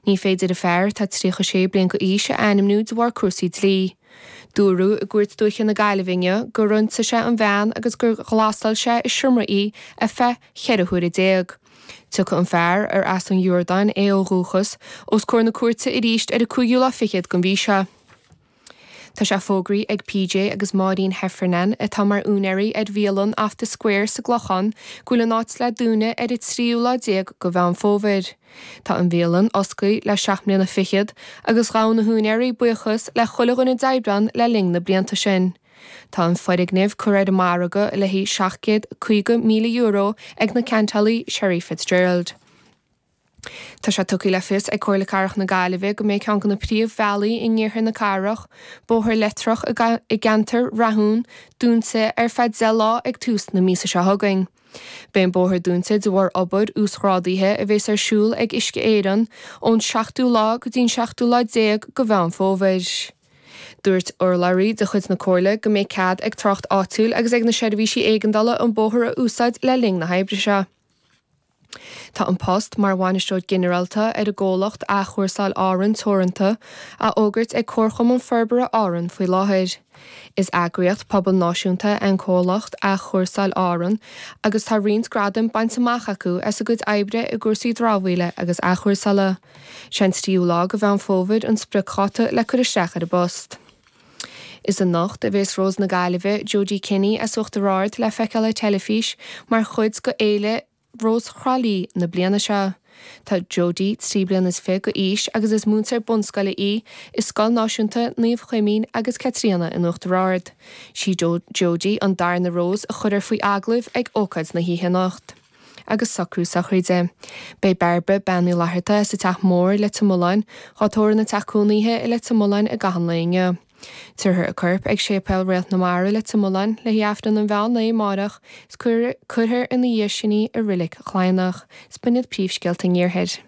Ní féidir an fear, atá 36 bliain d'aois, a ainmniú de bharr cúrsaí dlí. Dúradh i gCúirt Dúiche na Gaillimhe inniu gur ionsaigh sé an bhean agus gur ghlasáil sé i seomra í ar feadh 14 huaire. Tiocfaidh an fear, ar as an Iordáin é ó dhúchas, os comhair na cúirte arís ar an cúigiú lá fichead den mhí seo. Tá sé fógraithe ag PJ agus Máirín Heffernan, atá mar úinéirí ar bhialann Off The Square sa gClochán, go bhfuil an áit le dúnadh ar an tríú lá déag de Mheán Fómhair. Tá an bhialann oscailte le seacht mbliana fichead agus ghabh na húinéirí buíochas le chuile dhuine a d'oibrigh ann le linn na blianta sin. Tá an foirgneamh curtha ar an margadh le haghaidh €750,000 ag na ceantálaí Sherry Fitzgerald. Tá sé tugtha le fios ag Comhairle Cathrach na Gaillimhe go mbeidh ceann de na príomhbhealaí in iarthar na cathrach, Bóthar Leitreach i gceantar Rathún, dúnta ar feadh 10 lá ag tús na míosa seo chugainn. Beidh an bóthar dúnta de bharr obair uasghrádaithe a bhéas ar siúl ag Uisce Éireann ón seachtú lá go dtí an seachtú lá déag de Mheán Fómhair. Dúirt urlabhraí de chuid na Comhairle go mbeidh cead ag trácht áitiúil agus ag na seirbhísí éigeandála an bóthar a úsáid le linn na hoibre seo. Tá an post mar Bhainisteoir Ginearálta ar an gcomhlacht Athchúrsáil Árann Teoranta á fhógairt ag Comharchumann Forbartha Árann faoi láthair. Is eagraíocht pobail náisiúnta é an comhlacht Athchúrsáil Árann agus tá roinnt gradaim bainte amach acu as a gcuid oibre i gcúrsaí dramhaíola agus athchúrsála. Sé an tríú lá de Mheán Fómhair an spriocdháta le cur isteach ar an bpost. Is anocht a bhéas Rós na Gaillimhe, Jodie Kenny as Uachtar Ard le feiceáil ar teilifís mar chuid de Fhéile Rós Thrá Lí na bliana seo. Tá Jodie 23 bliana d'aois agus is múinteoir bunscoile í i Scoil Náisiúnta Naomh Chuimín agus Caitríona in Uachtar Ard. Sí Jodie an darna Rós a chuirfear faoi agallamh ag ócáid na hoíche anocht. agus socrú sochraide. Beidh Bairbre Bean Uí Fhlatharta as an Teach Mór, Leitir Mealláin, dhá tórramh ina teach cónaithe i Leitir Mealláin i gcaitheamh an lae inniu. Tabharfar a corp ag Séipéal Réalt na Mara, Leitir Mealláin, le haghaidh Aifreann an mheán lae amárach is cuirfear ina dhiaidh sin í i Reilig Chladhnach. Is b'in iad príomhscéalta an Iarthair.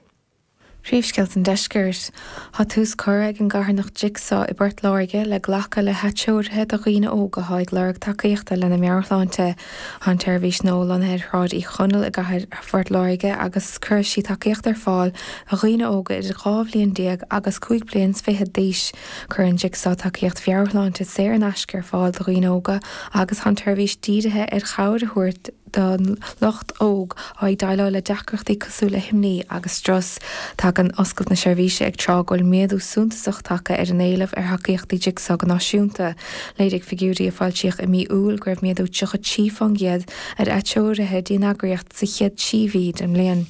Príomhscéalta an Deiscirt. Tá tús curtha ag an gcarthanacht Jigsaw i bPort Láirge le glacadh le hatreoruithe do dhaoine óga atá ag lorg tacaíochta lena meabhairshláinte. Tá an tseirbhís nua lonnaithe ar Shráid Uí Chonaill i gcathair Phort Láirge agus cuirfidh sí tacaíocht ar fáil do dhaoine óga idir 12 bhliain agus 25 bliain d'aois. Cuireann Jigsaw tacaíocht mheabhairshláinte saor in aisce ar fáil do dhaoine óga agus tá an tseirbhís dírithe ar chabhair a thabhairt don lucht óg atá ag déileáil le deacrachtaí cosúil le himní agus strus. Tagann oscailt na seirbhíse ag tráth go bhfuil méadú suntasach tagtha ar an éileamh ar thacaíochtaí Jigsaw go náisiúnta. Léirigh figiúirí a foilsíodh i mí Iúil go raibh méadú 33% ar atreoruithe dtí an eagraíocht sa chéad trí mhí den mbliain.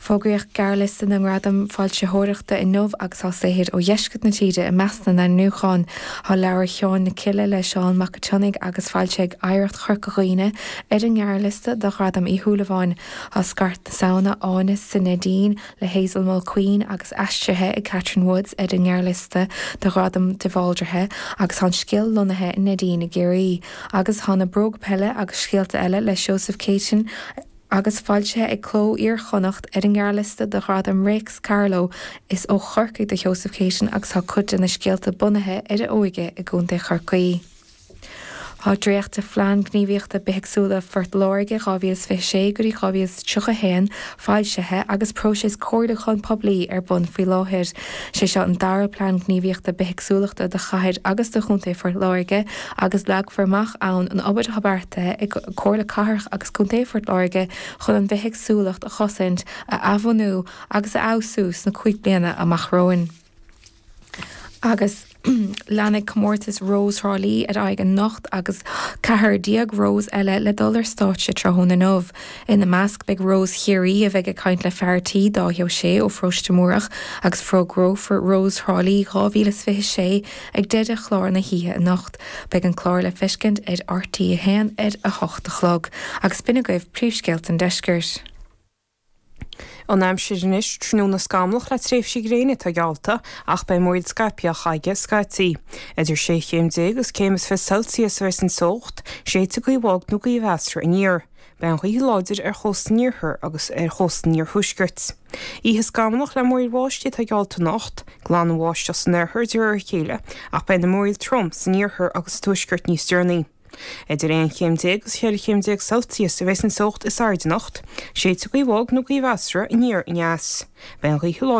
Fógraíodh gearrliosta na nGradam Foilsitheoireachta inniu agus tá saothair ó dheisceart na tíre i measc na n-ainmniúchán. Tá leabhar Sheáin na Cille le Seán Mac an tSionnaigh agus foilsithe ag Oidhreacht Chorca Dhuibhne ar an ngearrliosta do Ghradam Uí Shúilleabháin. Tá Scairt na Samhna, Áineas sa Neidín le Hazel Mulqueen agus aistrithe ag Catherine Woods ar an ngearrliosta do Ghradam de Bhaldraithe agus tá an scéal lonnaithe i Neidín i gCiarraí. Agus tá Na Bróga Peile agus Scéalta Eile le Seosamh Céitinn, agus foilsithe ag Cló Iar-Chonnacht ar an ngearrliosta do Ghradam Réics Carló. Is ó Chorcaigh do Sheosamh Céitinn agus tá cuid de na scéalta bunaithe ar a óige i gContae Chorcaí. Tá dréacht de Phlean Gníomhaíochta Bithéagsúla Phort Láirge 2026 go dtí 2031 foilsithe agus próiseas comhairliúcháin poiblí ar bun faoi láthair. Is é seo an dara Plean Gníomhaíochta Bithéagsúlachta do Chathair agus do Chontae Phort Láirge agus leagfar amach ann an obair atá beartaithe ag Comhairle Cathrach agus Contae Phort Láirge chun an bhithéagsúlacht a chosaint, a athbhunú agus a fheabhsú sna 5 bliana amach romhainn. Agus leanfaidh comórtas Rós Thrá Lí ar aghaidh anocht agus 14 Rós eile le dul ar stáitse tráthnóna inniu. Ina measc beidh Rós Chiarraí a bheidh ag caint le fear tí, Dáithí Ó Sé ó Pharóiste Múrach agus fógrófar Rós Thrá Lí 2026 ag deireadh chlár na hoíche anocht. Beidh an clár le feiscint ar RTÉ 1 ar a hocht a chlog. Agus b'in agaibh príomhscéalta an deiscirt. An aimsir anois, tráthnóna scamallach le tréimhsí gréine atá geallta ach beidh múraíl scaipthe á chaitheamh scaití. Idir sé chéim déag agus céim is 20 Celsius a bheas an teocht, séidfidh gaoth bhog nó gaoth mheasartha aniar. Beidh an ghaoth láidir ar chósta an iarthair agus ar chósta an iarthuaiscirt. Oíche scamallach le múraíl bháistí atá geallta anocht, glanfaidh an bháisteach san oirthear de réir a chéile ach beidh na múraíl trom san iarthar agus sa tuaisceart níos deireanaí. Idir 11 chéim agus 14 chéim Celsius a bheas an teocht is airde anocht, séidfidh gaoth bhog nó gaoth mheasartha aniar aneas. Beidh an ghaoth láidir.